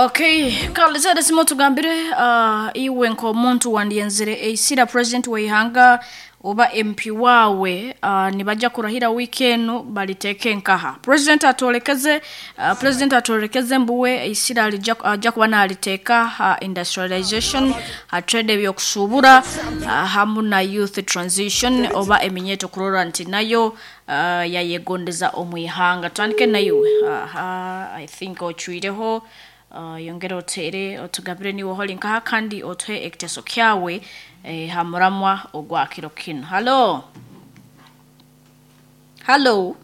Okay, kale zere simo tugambire iwe nk'omuntu wandyenzire eisira president w'eihanga oba MP wawe nibajja kurahira wiiki enu baliteeke nkaha. President atwolekeze president atwolekeze mbuwe eisira alijja ajja kuba naliteeka ha industrialization, ha trade ebyokusuubura hamu na youth transition oba eminyeeto kurora nti nayo yayegondeza omu ihanga. Tutandike naiwe. Aha, I think ocwireho yongera oteere otugabire niiwe holi nkaha kandi otuhe ekiteeso kyawe ha muramwa ogwa kiro kinu. Halo. Halo.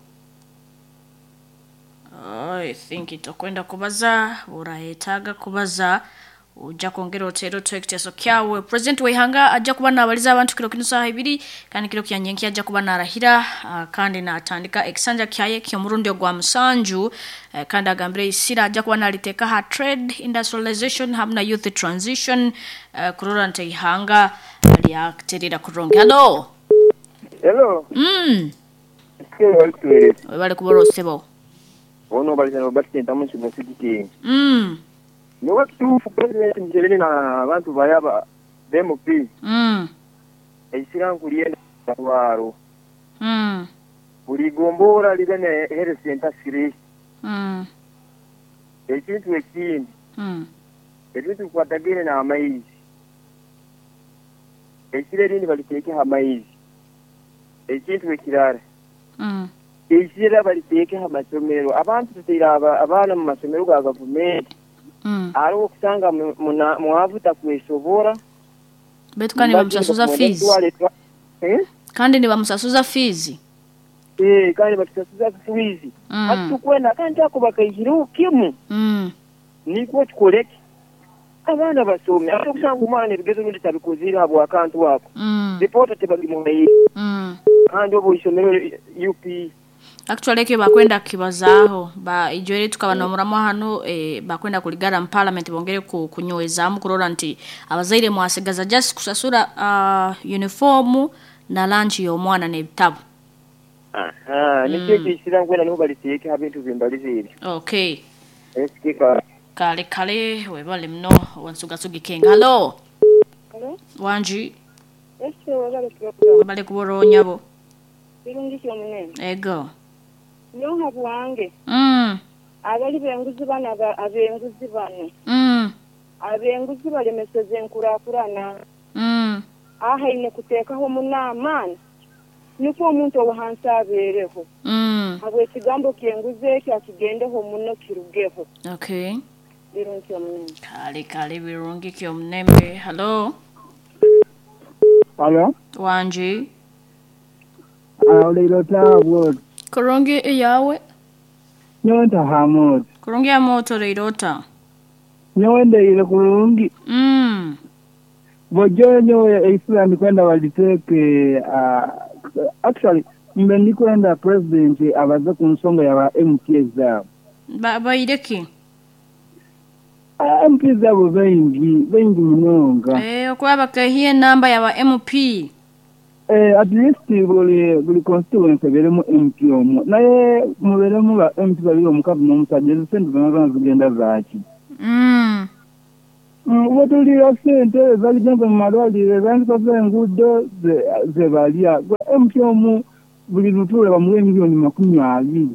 I think tokwenda kubaza orayetaaga kubaza ojja kwongera oteere otuhe ekiteeso kyawe. President w'eihanga ajja kuba naabaliza abantu kiro kinu saaha ibiri kandi kiro kya nyenkya ajja kuba naarahira kandi naatandika ekisanja kyaye ky'omurundi ogwa musanju kandi agambire eisira ajja kuba naaliteeka ha trade industrialization hamu na youth transition kurora nti eihanga lyaterera kurungi. Halo. Hello. Webale kuba osebo. Ono baliza Robert Sentamu Nsigo Niwe kituufu President Museveni na abantu bayaba MP. Eisira nkulyenda rwaro. Buli gombora libe ne health center siri. Ekintu ekindi. Ebintu bikwatagaine n'amaizi. Eisira erindi baliteeke ha maizi. Ekintu ekirara. Eisira baliteeke ha masomero. Abantu tutaire abaana mu masomero ga gavumenti. Hariho okusanga mwavu takwesobora. Baitu kandi nibamusasuza fees. Kandi nibamusasuza fees. Kandi batusasuza fees. Hati tukwenda kandi ako bakaihireho kimu. Nikwo tukoreki. Abaana basome. Ate okusanga omwana ebigezo rundi tabikozire habw'akantu ako. Ripoota tebagimuhaire. Kandi obu isomero UP. Actually ekyo bakwenda kukibazaaho ba ijwere tukaba n'omuramwa hanu bakwenda kuligara mu parliament bongere kunywezaamu kurora nti abazaire mwasigaza just kusasura uniform na lunch y'omwana n'ebitabu. Aha, nikyo ekisira nkwenda niho baliteeke ha bintu bimbalize ebyo. Okay. Esikika. Kale kale webale muno wansuga kenga. Halo. Halo. Wanji. Ese webale program. Webale kubora onyabo. Birungi kyomunene. Ego. Nyoha bwange. Abali benguzi bano abenguzi bano. Abenguzi balemeseze enkurakurana. Aha ine kuteekaho munaamaani. Nikwo omuntu owahansi abeereho. Habw'ekigambo ky'enguzi ekyo akigendeho muno kirugeho. Okay. Birungi kyomunene. Kale kale birungi kyomunembe. Halo. Halo. Wanji. Oleiro tabwo. Kurungi eyawe. Nyowe ntaha Kurungi ya moto leirota. Nyowe ndeire kurungi. Bojo nyowe eisira ndikwenda baliteke actually mbe ndikwenda president abaze ku nsonga ya MPs zabo. Baireki? MPs zabo bengi munonga. Okuba bakahiye enamba ya ba MP. At least buli constituency eberemu MP omwe. Naye muberemu ba MP babiri omukazi n'omusajja ezo sente zonna zonna zigenda zaaki. Bwetulira sente ezaligenze mu malwaliro ezandikoze enguudo ze balya. MP omu buli lutuula bamuwa emiliyoni 20.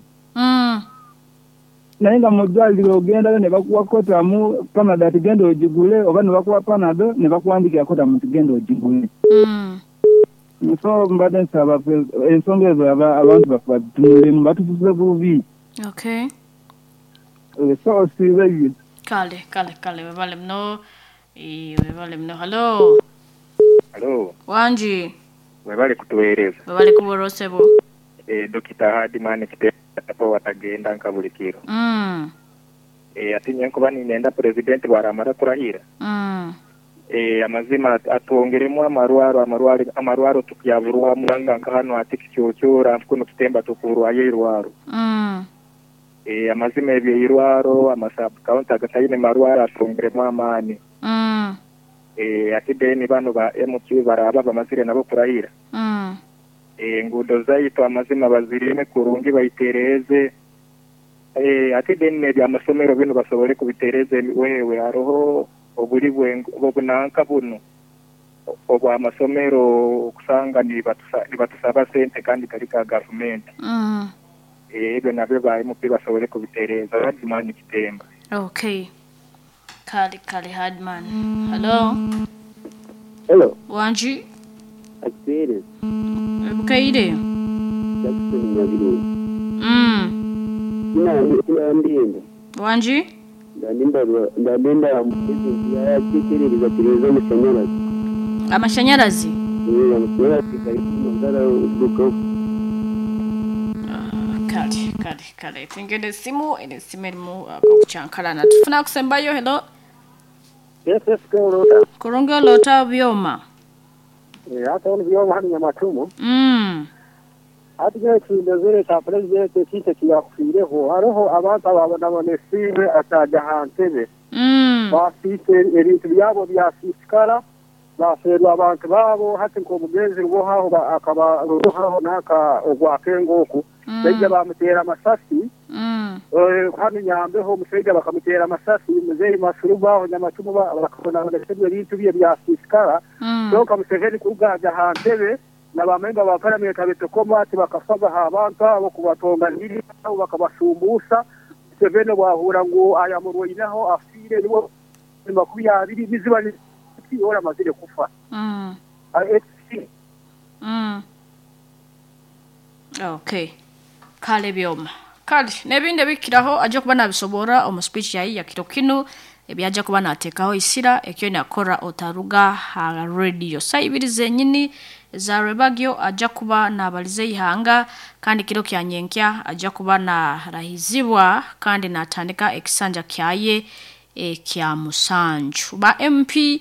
Naye nga mu ddwaliro ogendayo ne bakuwa kotamu Panado ati genda ogigule oba ne bakuwa Panado ne bakuwandikira kotamu nti genda ogigule. So mbadde nsaba ensonga ezo abantu baffe bazitunulemu batufuze bubi. Okay. So osiibe. Kale kale kale webale muno. Webale muno. Halo. Halo. Wanji. Webale kutuweereza. Webale kubora osebo. Dokita Hardman Kitepo watagenda nka buli kiro. Ati nyenkuba ninenda president bwaramara kurahira. Amazima atwongeremu amarwaro tukuyaburwa muranga nka hano ati kicyocyora kuno tutemba tukurwaye irwaro. Amazima ebyo irwaro amasub county agatayine marwaro atwongeremu amani. Ati deni bano ba MP baraba bamazire nabo kurahira. Enguudo zaitu amazima bazirime kurungi bayitereze. Eeh ate then n'ebyamasomero binu basobole kubitereza emiweewe haroho obuli bw'obunanka bunu obw'amasomero okusanga nibatusaba sente kandi gari ga gavumenti. Eeh ebyo nabyo ba MP basobole kubitereeza. Hardman Kitemba. Okay. Kale kale Hardman. Hello. Hello. Wangi. Akiteereza. Obukaire. Jackson Nyabirungi. Tinandenda. Wangi. Ndandenda president yaakyekyerereza tureeze amashanyarazi. Amashanyarazi? Eeh amashanyarazi gari kumagara rugaho. Kale kale kale tingene esimu eno esimu erimu ak'okukyankalana. Tufune akusembayo hello. Yes, yes, Kulota. Kurungi olota Byoma. Eh, hata onu Byoma hanu Nyamatumu. Hati nyowe ekindozere kya pulezidenti ekintu eki yaakufiireho, hariho abantu abaabonabonesiibwe ataagya aha ntebe. Baasiisa ebintu byabo byasiisikara, baafeerwa abantu baabo, hati nk'omugenzi Rubohaho akaba Rubohaho nanka ogwa Kengo oku, baija baamuteera amasasi. Hanu Nyambeho omusaija bakamuteera amasasi, muzeeyi Masuruba aho Nyamacumu bakabonabonesebwa ebintu bye byasiisikara. Kyonka Museveni kuruga aja aha ntebe na ba memba ba paramenti abetokoma tibakafaga aha bantu abo kubatonganirira nabo bakabashumbuusha. Museveni obu ahuura ngu ayamurwaineho afiire niwe 20 niziba niziki ori amazire kufa. Okay. Kale Byoma. Kale n'ebindi ebikiraho aja kuba nabisoborra omu speech yaye ya kiro kinu ebyaja kuba nateekaho eisira eki oine kukora otaruga ha radio. Saaha ibiri zenyini eza rwebagyo aja kuba nabaliza eihanga kandi kiro kya nyenkya aja kuba narahizibwa kandi natandika ekisanja kyaye ekya musanju. Ba MP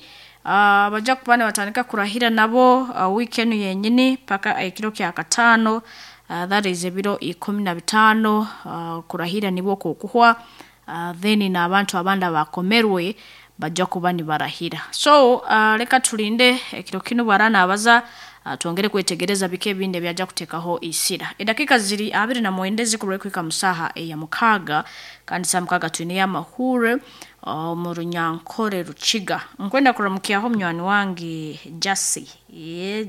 baja kuba nibatandika kurahira nabo wiiki enu yenyini paka ekiro kya kataano that is ebiro 15 kurahira nibwo kukuhwa then n'abantu abandi abakomerwe baja kuba nibarahira. So leka tulinde ekiro kinu bwara nabaza twongere kwetegereza biki ebindi ebyaja kuteekaho eisira. Edakiika ziri 29 zikurwe kuhika mu saaha eya mukaaga kandi saaha mukaaga twineyo amahuure omu Runyankore Rukiga. Nkwenda kuramukyaho munywani wange Jasi.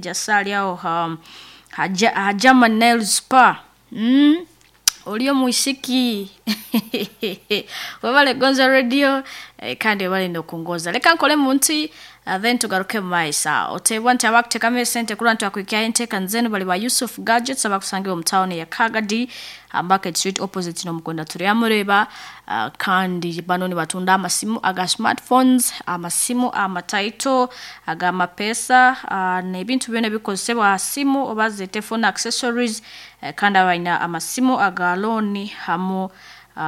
Jasi ari aho ha German Nail Spa. Ori omwisiki webale kugonza radio kandi webale n'okungonza. Leka nkole munti then tugaruke mu maiso aho. Oteebwa nti abakuteekamu esente kurora nti bakuhikyaho enteekaniza zenu bali ba Yusuf Gadgets abakusangibwa omu tawuni ya Kagadi Market Street opposite n'omukwenda Turyamureeba kandi bano nibatunda amasimu aga smartphones, amasimu amataito ag'amapeesa n'ebintu byona ebikozesebwa aha simu oba zeete phone accessories kandi abaine amasimu aga looni hamu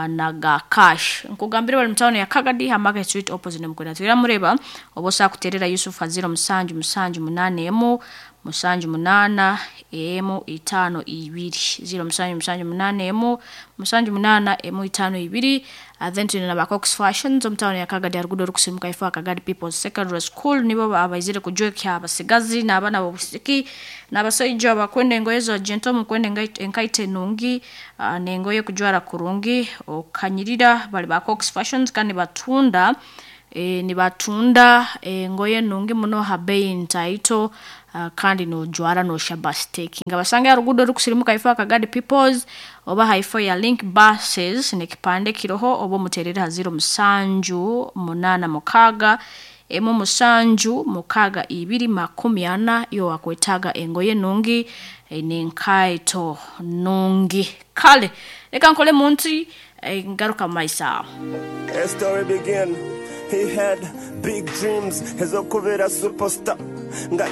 naga cash. Nkugambire bari mu tawuni ya Kagadi ha Market Street opposite n'omukwenda Turyamureeba oba osobola kuteerera Yusuf ha 07 7 81 78 152 07 7 81 78 152 then twine na ba Cox Fashions omu tawuni ya Kagadi aha ruguudo orukusiimuka ifo aha Kagadi People's Secondary School nibo abaizire kujwekya abasigazi n'abaana b'obwisiki n'abasaija abakwenda engoye za gentle mukwenda enkaito enungi n'engoye kujwara kurungi okanyirira bari ba Cox Fashions kandi nibatunda nibatunda engoye nungi muno ha bei ntaito kandi nojwara noshaba staking. Basange aha ruguudo orukusirimuka ifo aha Kagadi People's oba haifo ya Link Buses n'ekipande kiroho oba omuteerere ha 07 86 1 7 6 40 iwe wakwetaaga engoye nungi n'enkaito nungi. Kale leka nkole munti ngaruka mu maiso aho. A story begin. He had big dreams ez'okubeera superstar nga